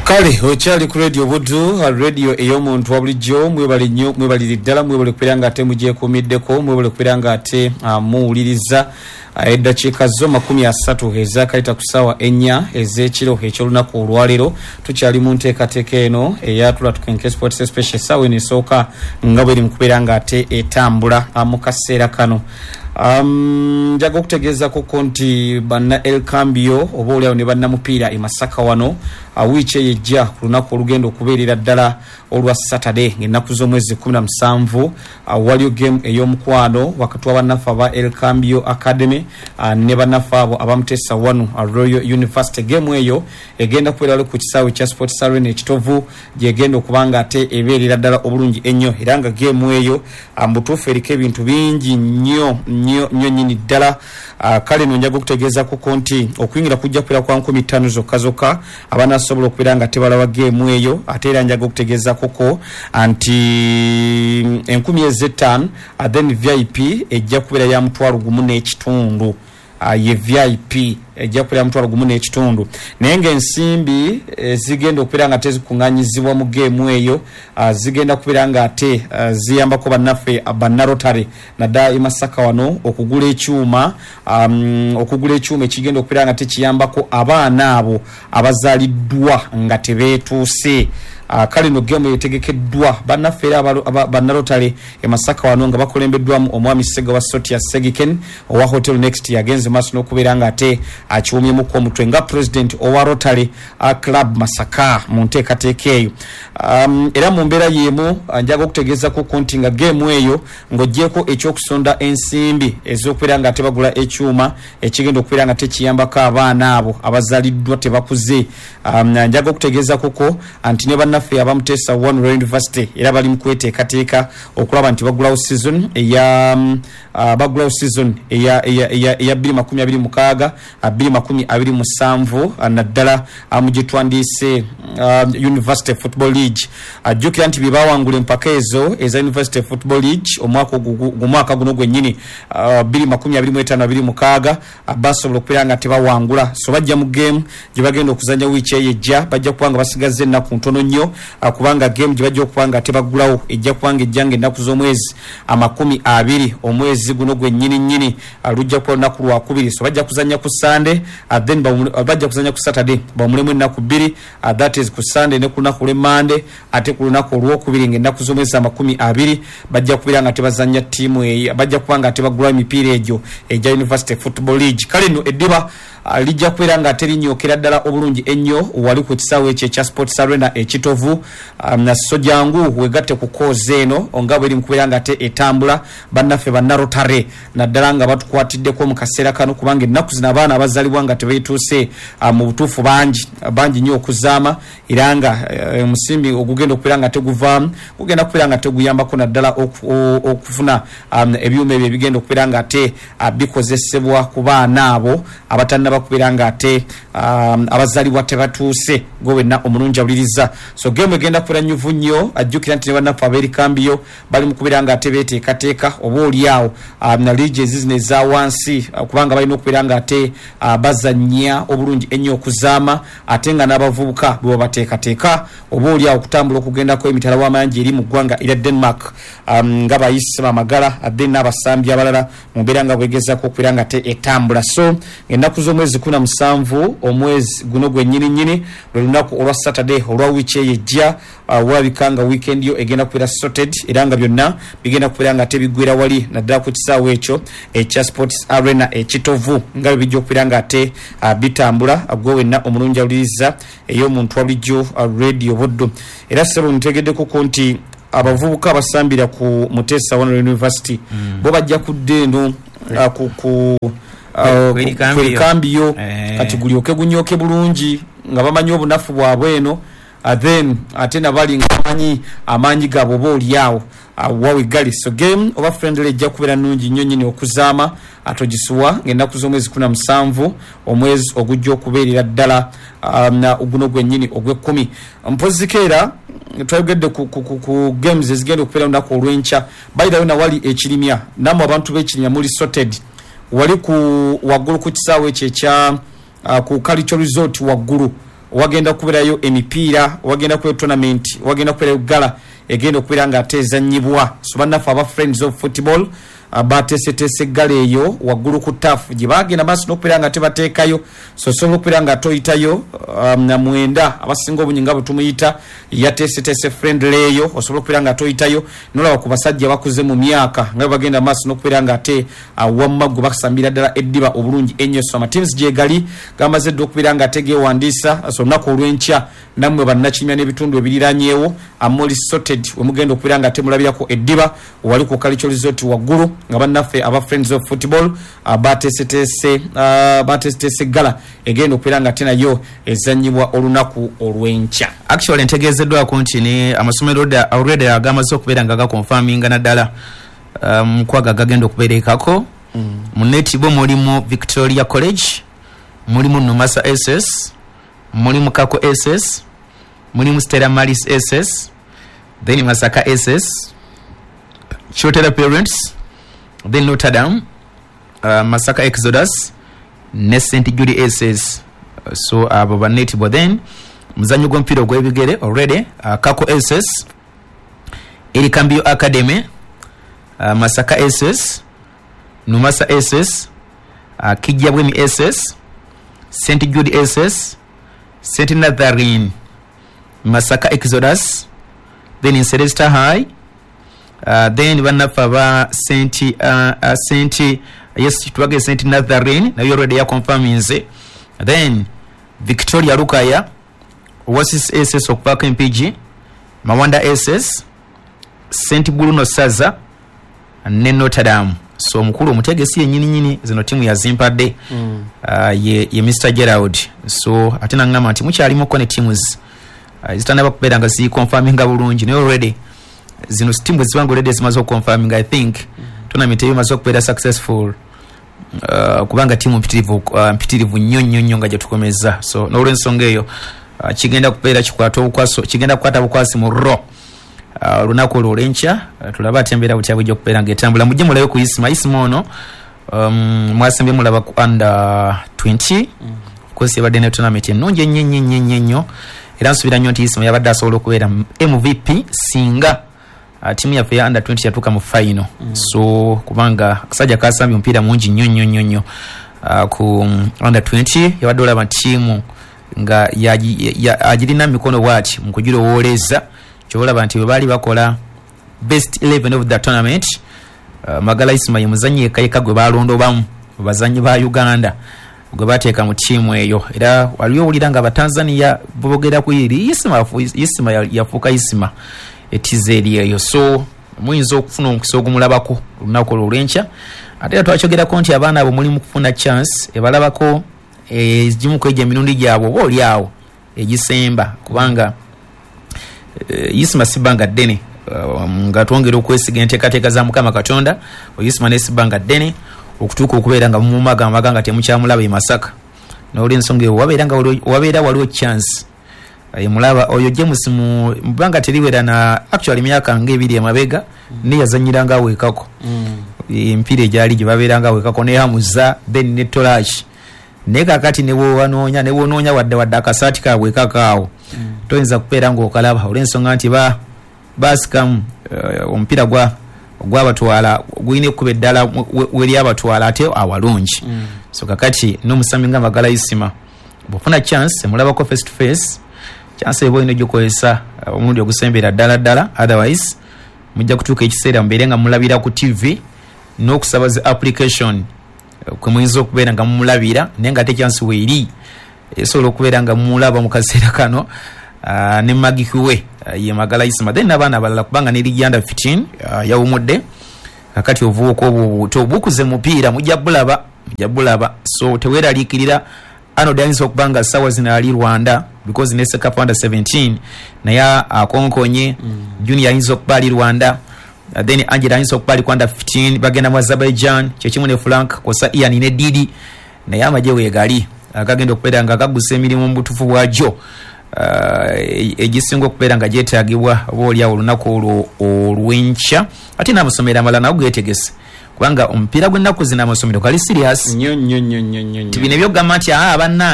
Kale okyali ku Radio Buddu, radio ey'omuntu wa bulijjo. Mwebale nnyo, mwebalire ddala, mwebale kubeera nga ate mugyekuumiddeko, mwebale kubeera nga ate muwuliriza. Eddakiika zo 30 ezaakayita ku ssaawa 4 ez'ekiro eky'olunaku olwaleero. Tukyali mu nteekateeka eno eya Tula Tukenke Sports Special, essaawa eno esooka nga bweri mu kubeera nga ate etambula mu kaseera kano. Njaga okutegeezakoko nti banna El Cambio oba oliawo ne bannamupiira e Masaka wano, wiiki eyo ejja ku lunaku olugenda okubeerera ddala olwa Saturday ng'ennaku z'omwezi 17, waliyo game ey'omukwano wakati wa bannaffe aba El Cambio Academy ne bannaffe abo aba Muteesa 1 Royal University. Game eyo egenda kubeera wali ku kisaawe kya Sports Arena e Kitovu, gyegenda okuba nga ate ebeerera ddala obulungi ennyo, era nga game eyo mu butuufu eriko ebintu bingi nnyo nnyo nnyo nnyini ddala. Kale no njaga okutegeezakoko nti okuyingira kujja kubeera kwa 5,000 zokka zokka abanasobola okubeera nga tebalaba game eyo. Ate era njaga okutegeezakoko nti 5,000, then VIP ejja kubeera ya 1,500. Ye VIP ejja kubeera 1,500, naye ng'ensimbi ezigenda okubeera nga tezikuŋŋaanyizibwa mu geemu eyo zigenda kubeera nga ate ziyambako bannaffe bannarotary naddala e Masaka wano okugula ekyuma, okugula ekyuma ekigenda okubeera nga tekiyambako abaana abo abazaaliddwa nga tebeetuuse. Kale no geemu etegekeddwa bannaffe era bannarotary e Masaka wano nga bakulembeddwamu omwami Ssegawa Sotia Segiken owa Hotel Next, yagenze maaso n'okubeera nga ate akiwumyemuko omutwe nga president owa Rotary Club Masaka mu nteekateeka eyo. Era mu mbeera y'emu njaga okutegeezako nti nga geemu eyo ng'oggyeeko ekyokusonda ensimbi ez'okubeera nga tebagula ekyuma ekigenda okubeera nga tekiyambako abaana abo abazaaliddwa tebakuze, njaga okutegeezakoko nti ne bannaffe aba Muteesa 1 Royal University era bali mu kweteekateeka okulaba nti bagulawo season eya bagulawo season eya eya eya eya 2026 2027, naddala mu gye twandiise University Football League. Ajjukira nti bye bawangula empaka ezo eza University Football League omwaka guno gwennyini 2025 26, basobola okubeera nga tebawangula. So bajja mu game gye bagenda okuzannya wiiki eyo ejja, bajja kuba nga basigazza ennaku ntono nnyo, kubanga game gye bajja okuba nga tebaggulawo ejja kuba nga ejja nga ennaku z'omwezi 20 omwezi guno gwennyini nnyini, lujja kuba lunaku lwakubiri. So bajja kuzannya ku Sunday, then bajja kuzannya ku Saturday, bawumulemu ennaku 2, that is ku Sunday ne ku lunaku lw'Emmande, ate ku lunaku olwokubiri ng'ennaku z'omwezi 20 bajja kubeera nga tebazannya ttiimu eyo, bajja kuba nga tebaggulawo emipiira egyo egya University Football League. Kale nno eddiba lijja kubeera nga terinyookera ddala obulungi ennyo wali ku kisaawe ekyo ekya Sports Arena e Kitovu. So jangu wegatte ku koozi eno nga bweri mu kubeera nga ate etambula, bannaffe bannarotary naddala nga batukwatiddeko mu kaseera kano, kubanga ennaku zino abaana abazaalibwa nga tebeetuuse mu butuufu bangi bangi nnyo okuzaama, era nga omusimbi ogugenda okubeera nga teguvaamu gugenda kubeera nga teguyambako naddala okufuna ebyuma ebyo ebigenda okubeera nga ate bikozesebwa ku baana abo abatannaba kubeera nga ate abazaalibwa tebatuuse. Gwe wenna omulungi awuliriza, so geemu egenda kubeera nnyuvu nnyo. Ajjukira nti ne bannaffe ab'erikambiyo bali mu kubeera nga ate beeteekateeka oba oli awo na liigi ezizino eza wansi, kubanga balina okubeera nga ate bazannya obulungi ennyo okuzaama, ate nga n'abavubuka bwe babateekateeka oba oli awo okutambula okugendako emitala w'amayanja eri mu ggwanga erya Denmark, nga bayise bamagala then n'abasambi abalala mu mbeera nga bwegezaako okubeera nga ate etambula. So ennaku z'omwezi 17 omwezi guno gwennyini nnyini, lwe lunaku olwa Saturday olwa wiiki eyo ejja, walabika nga weekend yo egenda kubeera sorted, era nga byonna bigenda kubeera nga tebiggwera wali naddala ku kisaawe ekyo ekya Sports Arena e Kitovu, nga bwe bijja okubeera nga ate bitambula. Gwe wenna omulungi awuliriza ey'omuntu wa bulijjo Radio Buddu. Era ssebo ntegeddekoko nti abavubuka abasambira ku Muteesa 1 University bo bajja kudda eno ku Erikambiyo, kati gulyoke gunyooke bulungi nga bamanyi obunafu bwabwe eno, then ate nabali nga bamanyi amaanyi gaabwe oba oli awo wawe gali. So game oba friendly ejja kubeera nnungi nnyo nnyini okuzaama, atogisuwa ng'ennaku z'omwezi 17 omwezi ogujja okubeerera ddala guno gwennyini ogw'ekkumi. Mpoziko era twayogedde ku games ezigenda okubeera olunaku olw'enkya. By the way, nawali ekirimya, nammwe abantu b'ekirimya muli sorted wali ku waggulu ku kisaawe ekyo ekya ku Cultural Resort waggulu. Wagenda kubeerayo emipiira, wagenda kubeerayo tournament, wagenda kubeerayo gala egenda okubeera nga ate ezannyibwa. So bannaffe aba Friends of Football bateeseteese gala eyo waggulu ku taafu gye bagenda maaso n'okubeera nga tebateekayo. So osobola okubeera nga toyitayo na mwenda abasinga obungi nga bwe tumuyita yateeseteese friendly eyo, osobola okubeera nga toyitayo nolaba ku basajja bakuze mu myaka nga bwe bagenda maaso n'okubeera nga ate wamma gwe basambira ddala eddiba obulungi ennyo. So amateams gye gali gamaze dda okubeera nga ate geewandiisa. So olunaku olw'enkya nammwe bannakimya n'ebitundu ebiriranyeewo amoli sorted we mugenda okubeera nga temulabirako eddiba wali ku Kalicho Resort waggulu nga bannaffe aba Friends of Football bateeseteese gala egenda okubeera nga ate nayo ezannyibwa olunaku olw'enkya. Actually ntegeezeddwako nti ne amasomero already agamaze okubeera nga gakonfaminga naddala mukwaga gagenda okubeera ekako. Mu netball mulimu Victoria College, mulimu Numasa SS, mulimu Kako SS, mulimu Stella Maris SS, then Masaka SS, Chotera Parents, then Notre Dame, Masaka Exodus ne St Jude SS. So abo ba netball. Then muzanyo gw'omupiira ogw'ebigere already Kako SS, Erikambio Academy, Masaka SS, Numasa SS, Kijjabwemi SS, St Jude SS, St Natharine, Masaka Exodus, then Celesta High, then bannaffe aba St yes twage St Natharine nayo already yakonfaminze, then Victoria Lukaya, Oasis SS okuvaako MPG, Mawanda SS, St Bruno Saza ne Notre Dame. So omukulu omutegesi yennyini nyini zino tiimu yazimpadde ye Mr Gerald. So ate nangamba nti mukyalimuko ne teams zitannaba kubeera nga zikonfaminga bulungi, naye already zino tiimu zibanga already zimaze okukonfaminga. I think tournament eyo emaze okubeera successful kubanga tiimu mpitirivu nnyo nnyo nnyo nga gye tukomezza. So n'olwensonga eyo kigenda kubeera kikwata obukwaso, kigenda kukwata bukwasi mu ro olunaku olwo olw'enkya. Tulabe ate embeera butya bujja okubeera ng'etambula. Mujje mulabe ku Isima. Isima ono mwasembye mulaba ku under 20. Of course yabadde ne tournament ennungi ennyo ennyo ennyo ennyo ennyo, era nsuubira nnyo nti Isima yabadde asobola okubeera MVP singa tiimu yaffe ya under 20 yatuuka mu final. So kubanga akasajja kasambye omupiira mungi nnyo nnyo nnyo nnyo ku under 20, yabadde olaba ttiimu nga agirina mikono bwati mu kugirowooleza. Kyolaba nti bwe baali bakola best 11 of the tournament, Magala Isima ye muzannyi yekka yekka gwe balondobamu mu bazannyi ba Uganda gwe bateeka mu ttiimu eyo. Era waliwo owulira nga Abatanzania boogera ku eri Isima, Isima yafuuka Isima etiza eri eyo. So muyinza okufuna omukisa ogumulabako olunaku olwo olw'enkya. Ate era twakyogerako nti abaana abo mulimu kufuna chance ebalabako egimu ku egyo emirundi gyabwe oba oli awo egisemba, kubanga Isima si bbanga ddene nga twongera okwesiga enteekateeka za Mukama Katonda. Isima ne si bbanga ddene okutuuka okubeera nga mumumagamaga nga temukyamulaba e Masaka. N'olwensonga eyo wabeera waliwo chance emulaba oyo James mu bbanga teriwera na actually myaka ng'ebiri emabega ne yazannyiranga aweekako emipiira egyali gye babeeranga aweekako ne Hamuza then ne Tolash. Naye kaakati ne bw'onoonya wadde akasaati kaabwe kakaawo toyinza kubeera ng'okalaba olw'ensonga nti baasikamu omupiira gwabatwala gulina ekkubo eddala weryabatwala ate awalungi. So kakati n'omusambi nga Magala Isima bw'ofuna chance emulabako face to face, chance eba olina ogikozesa omulundi ogusembera ddala ddala, otherwise mujja kutuuka ekiseera mubeere nga mulabira ku TV n'okusaba zi application kwe muyinza okubeera nga mumulabira, naye nga ate chance weeri esobola okubeera nga mumulaba mu kaseera kano ne Magiki we ye Magala Isima, then n'abaana abalala kubanga ne ligi under 15 yawumudde. Kakati obuvubuka obwo obuto bukuze mupiira mujja bulaba. So teweeraliikirira. Arnold ayinza okuba nga ssaawa zino ali Rwanda because ne Sekafa under 17 naye akonkonye. Junior ayinza okuba ali Rwanda, then Angela ayinza okuba ali ku under 15 bagenda mu Azerbaijan, kyekimu ne Frank kosa Ian ne Didi, naye amagye weegali agagenda okubeera nga gagusa emirimu mu butuufu bwagyo egisinga okubeera nga gyetaagibwa oba oliawo olunaku olwo olw'enkya. Ate n'amasomero amalala nago geetegese kubanga omupiira gw'ennaku zino amasomero gali serious nnyo nnyo nnyo nnyo nnyo. Bino ebyokugamba nti bannange